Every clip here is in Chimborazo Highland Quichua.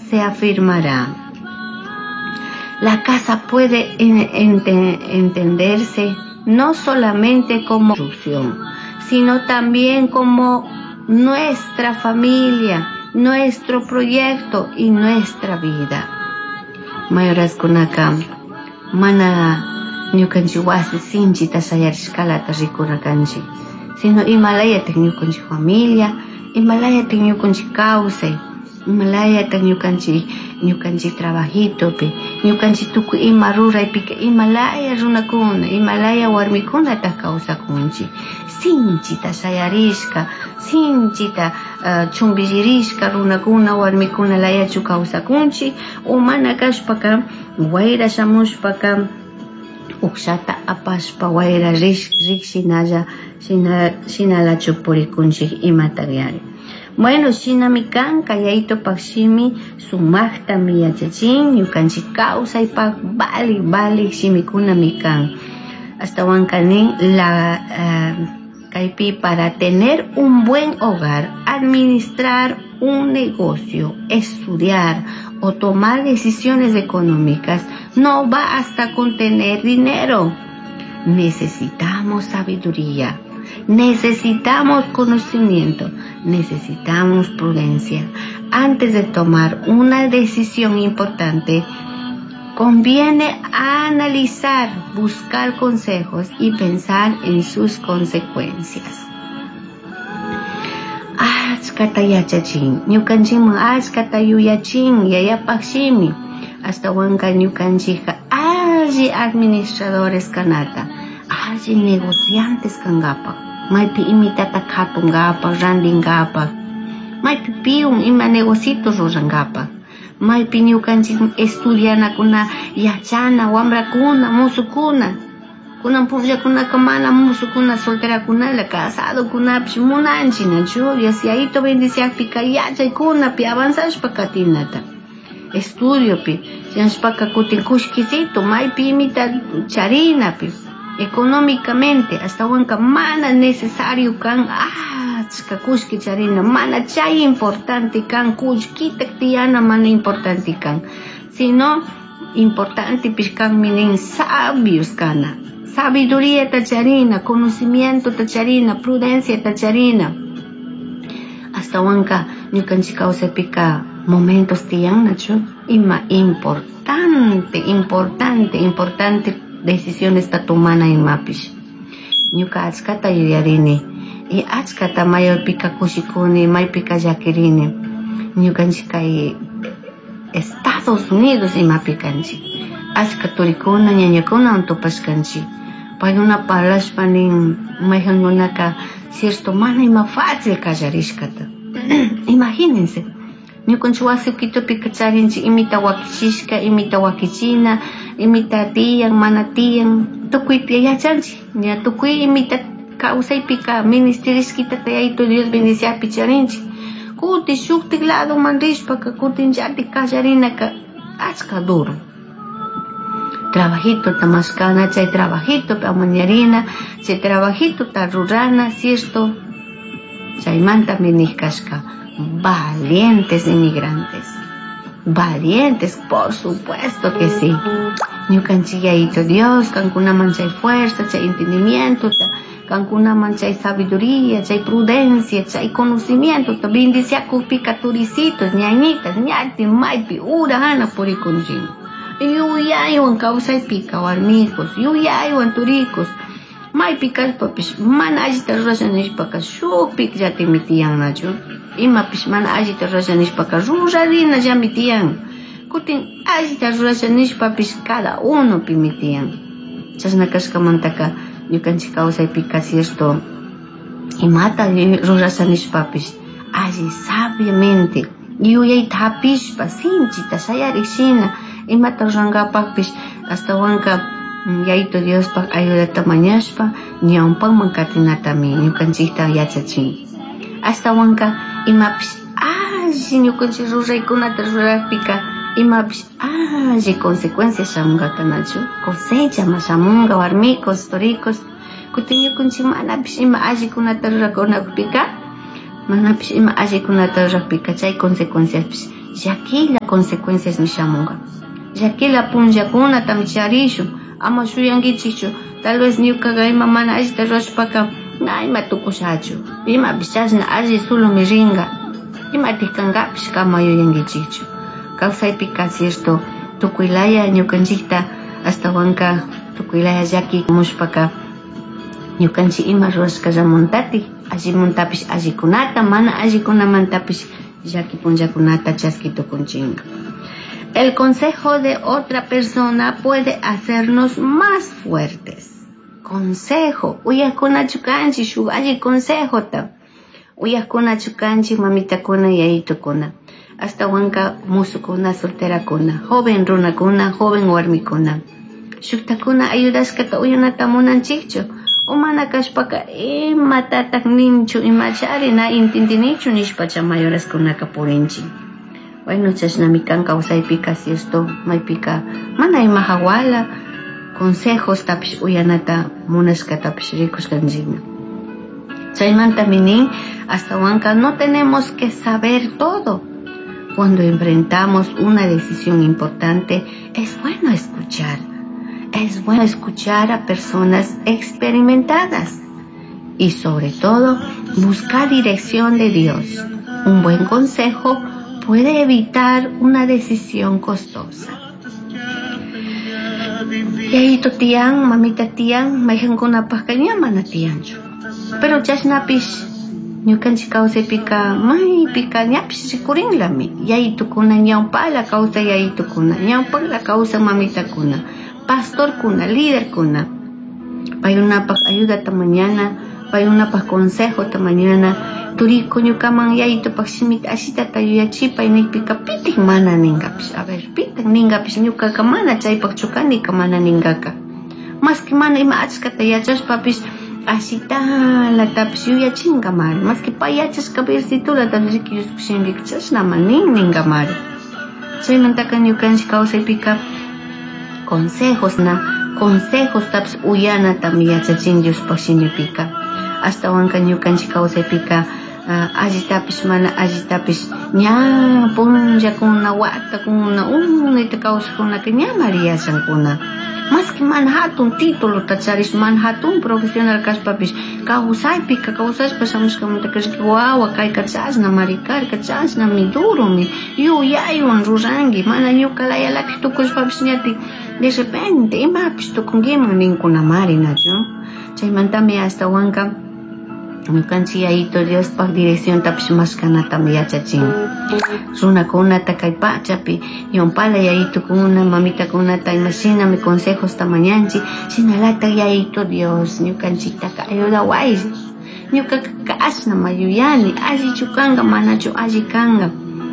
se afirmará. La casa puede entenderse no solamente como construcción, sino también como nuestra familia, nuestro proyecto y nuestra vida. Mayoraskunaka mana ñukanchik wasi sinchita shayarishkalata rikuna kanchik, sino imalayatak ñukanchik familia, imalayatak ñukanchik kawsay, imalayatak ñukanchik trabajitopi, ñukanchik tukuy ima ruraypika imalaya runakuna, imalaya warmikunatak kawsakunchik. Sinchita shayarishka, sinchita chumbillirishka runakuna, warmikuna layachu kawsakunchik, o mana kashpaka wayra shamushpaka ukshata apashpa wayra rik shinalla, shinalachu purikunchik imatak yari. Bueno, shinami kanka yayitopak shimi sumaktami yachachin, ñukanchik kawsaypak valik, valik shimikunami kan. Ashtawanka nin la kaypi para tener un buen hogar, administrar un negocio, estudiar o tomar decisiones económicas, no basta con tener dinero. Necesitamos sabiduría, necesitamos conocimiento, necesitamos prudencia. Antes de tomar una decisión importante, conviene analizar, buscar consejos y pensar en sus consecuencias. Achkata yachachin, ñukanchikman achkata yuyachin, yayapaj shimi, ashtawanka ñukanchikka alli administradores kanata, alli negociantes kankapak, maypi imitata katunkapak, rantinkapak, maypi piun ima negocito rurankapak, maypi ñukanchik estudianakuna, yachana, wambrakuna, musukuna, kunan punllakunaka mana musukuna, solterakunala, casadokunapish munanchik, nachu? Dios yayito bendiciakpika yachaykunapi avanzashpa katinata. Estudiopi, shinashpaka kutin kullkisito, maypi imita charinapi, económicamente, ashtawanka mana necesario kan achka kullki charina, mana chay importante kan, kullkita tiyana mana importante kan, sino importante pish kanmi nin sabios kana, sabiduría ta charina, conocimiento ta charina, prudencia ta charina. Ashtawanka ñukanchik kawsaypika momentos tiyan, nachu? Ima importante, importante, importante decisiones ta tomana imapish. Ñuka achkata yuyarini y achkata mayorpika kushikuni, maypika llakirini. Ñukanchik kay Estados Unidos imapi kanchik. Achka turikuna, ñañakunawan tupashkanchik. Paykuna parlashpa nin mayqankunaka cierto mana ima fácil kallarishkata. Imagínense, ñukanchik wasi Quitopika charinchik imita wakichishka, imita wakichina, imita tiyan, mana tiyan, tukuypi yachanchik. Ña tukuy imita kawsaypika ministerishkitata Yayito Dios bendiciakpi charinchik. Kutin shuktik ladoman rishpaka kutin llatik kallarinaka achka duro. Trabajito ta mashkana, chay trabajito amañarina, chay trabajito ta rurana, cierto? Chaymantami nijkashka, valientes inmigrantes, valientes, por supuesto que sí. Ñukanchik Yayito Dios, kankunaman chay fuerza, chay entendimiento, kankunaman chay sabiduría, chay prudencia, chay conocimiento, ta bendiciakupika turicitos, ñañitas, ñati, maypi, ura, hana purikunchik. Yuyaywan kawsaypika warmikos, yuyaywan turikos, maypi kashpapish mana allita rurasha nishpaka shukpik llatimi tiyannachu, imapish mana allita rurasha nishpaka rurarinallami tiyan, kutin allita rurasha nishpapish cada uno pimi tiyan. Chashna kashkamantaka ñukanchik kawsaypika cierto imata rurasha nishpapish alli sabiamente yuyayta hapishpa sinchita shayarik shina imata rurankapakpish ashtawanka Yayito Diospaj ayudata mañashpa ñawpakman katinatami ñukanchikta yachachin. Ashtawanka imapish alli ñukanchik ruraykunata rurakpika imapish alli consecuencia shamunkaka nachu, cosecha ma shamunka warmikos, toricos, kutin ñukanchik manapish ima allikunata rurakunakpika, manapish ima allikunata rurakpika chay consecuenciapish Llaquilla consecuencias shamunga. Llaquilla punllakunatami charishun. Ama shuyankichikchu. Tal vez ñukaqa ima mana allita rurashpaka na ima tukushachu. Imapish chashna alli solomi ringa. Imatik kankapish kama yuyankichikchu. Kawsaypika cierto tukuylaya ñukanchikta ashtawanka tukuylaya llaki mushpaka ñukanchik ima rurashkallamuntatik allimuntapish allikunata mana allikunamantapish llaki punllakunata chaski tukunchinka. El consejo de otra persona puede hacernos más fuertes. Consejo, uyajkunachu kanchik shuk alli consejota. Uyajkunachu kanchik mamitakuna yayitukuna. Ashtawanka musukuna solterakuna, joven runakuna, joven warmikuna. Shuktakuna ayudashkata uyanata munanchikchu. O mana kashpaka imatatak ninchu, imachari na intindinichu nishpacha mayoraskunaka purinchik. Bueno, chashnami kan kawsaypika cierto, maypika mana ima hawala consejos tapish uyanata munashkatapish rikushkanchikmi. Chaymantami nin, ashtawanka no tenemos que saber todo. Cuando enfrentamos una decisión importante, es bueno escuchar. Es bueno escuchar a personas experimentadas y sobre todo buscar dirección de Dios. Un buen consejo puede evitar una decisión costosa. Yayito tiyan, mamita tiyan, mayqankunapaqqa ña mana tiyanchu. Pero chashnapish ñukanchik kawsaypika maypika ñapish rikurinlami. Yayitukuna ñawpala kawsay yayitukuna, ñawpala kawsay mamitakuna, pastorkuna, líderkuna. Paykunapaq ayudata mañana, paykunapaq consejota mañana, turiku ñukaman yayitupak shimita ashitata yuyachipay nikpika pitik mana ninkapish. A ver, pitik ninkapish ñukaka mana chaypaqchu kanika mana ninkaka. Maski mana ima achkata yachashpapish ashitalatapish yuyachinkamari. Maski pay yachashka versitulatapish riki Diospuk shimipika chashnama nin ninkamari. Chaymantaka ñukanchik kawsaypika consejos na, consejostapish uyanatami yachachin Diospuk shimipika. Ashtawanka ñukanchik kawsaypika allitapish mana allitapish ña punllakuna watakuna unayta kawsajkunaka ñamari yachankuna. Maski mana hatun titulota charish, mana hatun profesional kashpapish kawsaypika kawsashpa shamushkamantaka riki wawa kayka chashnamari karka, chashnami duromi yuyaywan ruranki, mana ñuka layalapish tukushpapish ñatik de repente imapish tukunkiman ninkunamari, nachu. Chaymantami ashtawanka ñukanchik Yayito Diospaq direcciontapish mashkanatami yachachin. Runakunata kay pachapi ñawpala yayitukuna, mamitakunata imashinami consejosta mañanchik, shinalatak Yayito Dios ñukanchiktaka ayudaway. Ñukaka kashnama yuyani, allichu kanka, manachu alli kanka.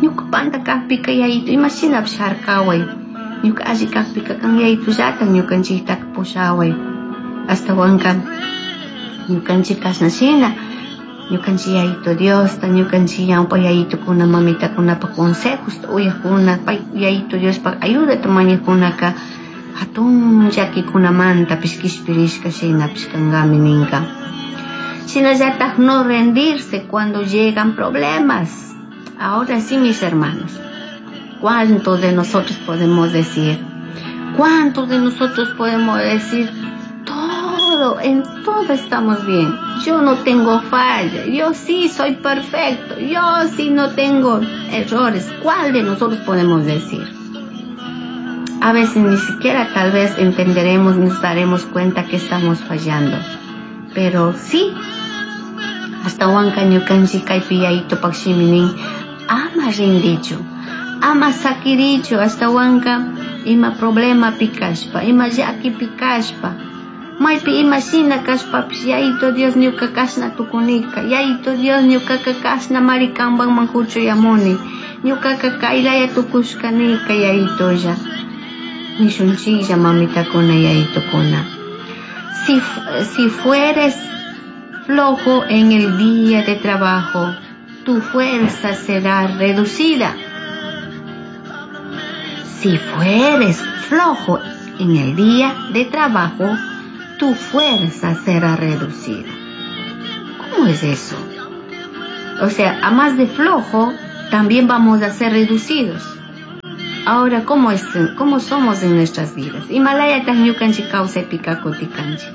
Ñuka panta kakpika Yayito imashinapish harkaway. Ñuka alli kakpika kan Yayitullata ñukanchiktaka pushaway. Ashtawanka ñukanchik kashna shina ñukanchik Yayito Diosta, ñukanchik ñawpa yayitukuna, mamitakunapa consejosta uyakuna, pay Yayito Diospak ayudata mañakunaka hatun llakikunamanta kishpirishka shinapish kankami ninka. Shinallatak no rendirse cuando llegan problemas. Ahora sí, mis hermanos, ¿cuántos de nosotros podemos decir? ¿Cuántos de nosotros podemos decir? Todo, en todo estamos bien. Yo no tengo falla, yo sí soy perfecto, yo sí no tengo errores. ¿Cuál de nosotros podemos decir? A veces ni siquiera tal vez entenderemos, nos daremos cuenta que estamos fallando. Pero sí, hasta huanca ñukanchik kaypi yayitupak shiminin ama rindichu, ama sakirichu, hasta huanca ima problema pikashpa, ima llaki pikashpa, maypi ima shina kashpapish Yayito Dios ñuka kashna tukunika, Yayito Dios ñukaka kashna mari kanpanman huchuyamuni, ñukaka kaylaya tukushkanika Yayitolla. Nishunchiklla mamitakuna yayitukuna. Si fueres flojo en el día de trabajo, tu fuerza será reducida. Si fueres flojo en el día de trabajo, tu fuerza será reducida. ¿Cómo es eso? O sea, a más de flojo, También vamos a ser reducidos. Ahora, ¿cómo somos en nuestras vidas? Imalayataq ñukanchik kawsaypika kutikanchik.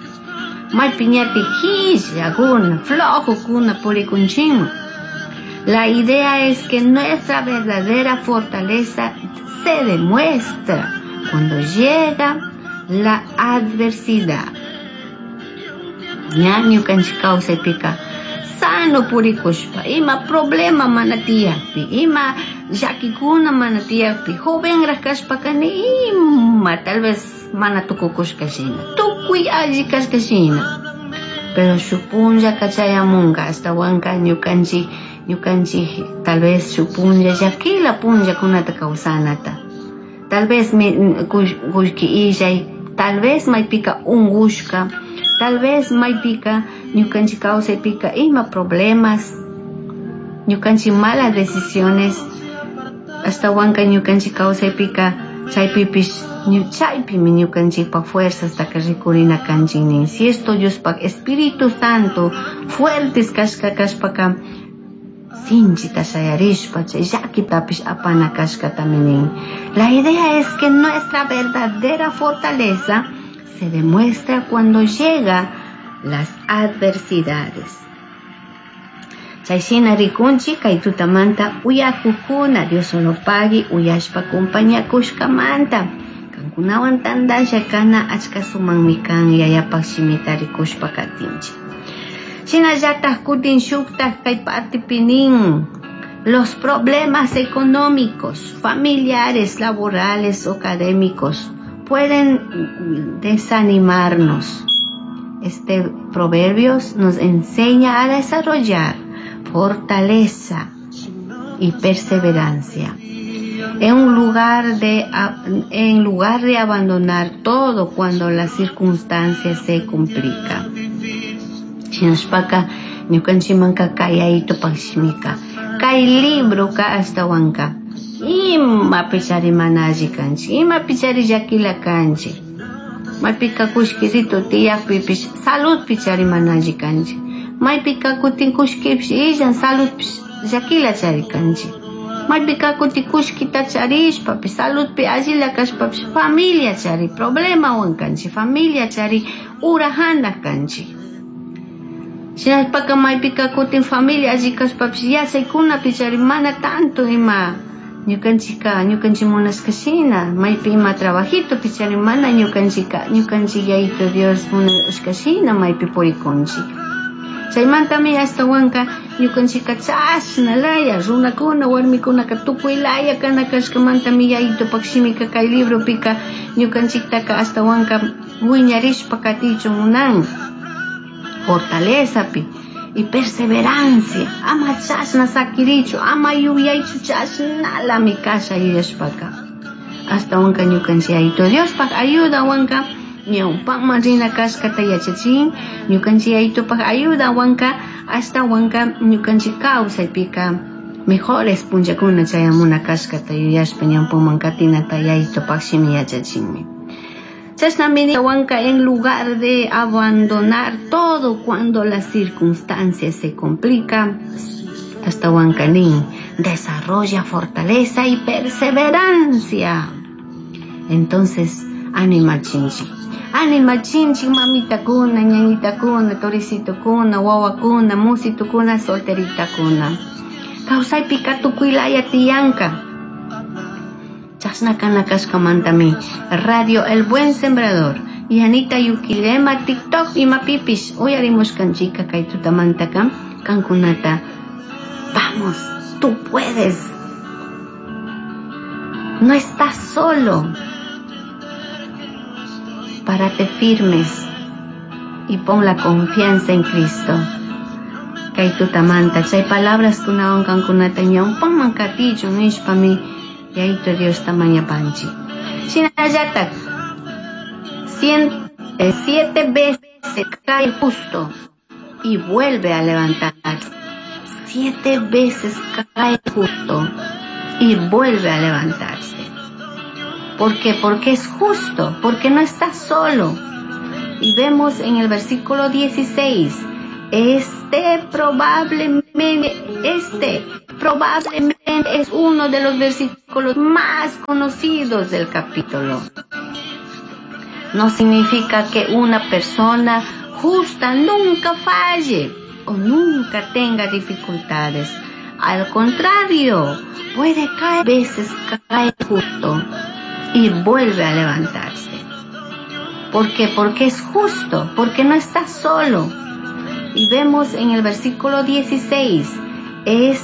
Maypiñati hillakuna, flojokuna purikunchikman. La idea es que nuestra verdadera fortaleza se demuestra cuando llega la adversidad. Ña ñukanchik kawsaypika sano purikushpa, ima problema mana tiyakpi, ima llakikuna mana tiyakpi, jovenraq kashpaka ni ima tal vez mana tukukushka shina, tukuy alli kashka shina. Pero shuk punllaka chayamunka, ashtawanka ñukanchik tal vez shuk punlla llakila punllakunata kawsanata. Tal vez kullki illay, tal vez maypika ungushka, tal vez maypika ñukanchik kawsaypika ima problemas, ñukanchik malas decisiones, ashtawanka ñukanchik kawsaypika chaypipish chaypimi ñukanchikpa fuerzastaka rikurina kanchik nin. Si esto Diospaq Espíritu Santo fuertes kashka kashpaka sinchita shayarishpa chay llakitapish apana kashkatami nin. La idea es que nuestra verdadera fortaleza se demuestra cuando llega las adversidades. Chayshina rikunchik kay tutamanta uyakukuna Dios solo pagui uyashpa compañakushkamanta. Kankunawan tandasha kana achka sumanmi kan yayapaq shimita rikushpa katinchik. Shinallataj kutin shuktaj kay partipi nin los problemas económicos, familiares, laborales o académicos pueden desanimarnos. Este Proverbios nos enseña a desarrollar fortaleza y perseverancia. En lugar de abandonar todo cuando las circunstancias se complican. Shinashpaka ñukanchikmanka kay aytupaq shimika, kay libroka ashtawanka imapichari mana alli kanchik, imapichari llakila kanchik, maypika kullkirito tiyakpipish saludpichari mana alli kanchik, maypika kutin kullkipish illan saludpish llakila chari kanchik, maypika kutin kullkita charishpapish saludpi allila kashpapish familia chari problemawan kanchik, familia chari urajana kanchik. Shinashpaka maypika kutin familia alli kashpapish yachaykunapi chari mana tanto ima ñukanchika ñukanchik munashka shina, maypi ima trabajitopi chari mana ñukanchika ñukanchik Yayito Dios munashka shina maypi purikunchik. Chaymantami ashtawanka ñukanchika chashna laya runakuna warmikunaka tukuy laya kana kashkamantami Yayitopak shimika kay libropika ñukanchiktaka ashtawanka wiñarishpa katichun munan. Fortalezapi y perseverancia, ama chashna sakirichu, ama yuyaychu chashnalami kasha yuyashpaka. Ashtawanka ñukanchik Yayito Diospaq ayudawanka ñawpaman rina kashkata yachachin, ñukanchik Yayitopaq ayudawanka ashtawanka ñukanchik kawsaypika mejores punllakuna chayamuna kashkata yuyashpa ñawpaman katinata Yayitopaq shimi yachachinmi. Chashnami wanka en lugar de abandonar todo cuando las circunstancias se complican, hasta wankanin desarrolla fortaleza y perseverancia. Entonces, anima chinchi, mamita kuna, ñañita kuna, toricito kuna, wawa kuna, musito kuna, solterita kuna. Kawsaypika tukuylaya tiyanka. Chashna kana kashkamantami Radio El Buen Sembrador y Anita Yuquilema TikTok imapipish uyarimushkanchika kay tutamantaka kankunata. Vamos, tú puedes. No estás solo. Párate firmes y pon la confianza en Cristo. Kay tutamanta chay palabras kunawan kankunata ñawpanman katichun nishpami Yayito Dios tamañapanchi. Shinallatak 7 veces cae justo y vuelve a levantarse. 7 veces cae justo y vuelve a levantarse. ¿Por qué? Porque es justo, porque no está solo. Y vemos en el versículo 16, este probablemente Probablemente es uno de los versículos más conocidos del capítulo. No significa que una persona justa nunca falle o nunca tenga dificultades. Al contrario, puede caer veces cae justo y vuelve a levantarse. ¿Por qué? Porque es justo, porque no está solo. Y vemos en el versículo 16, es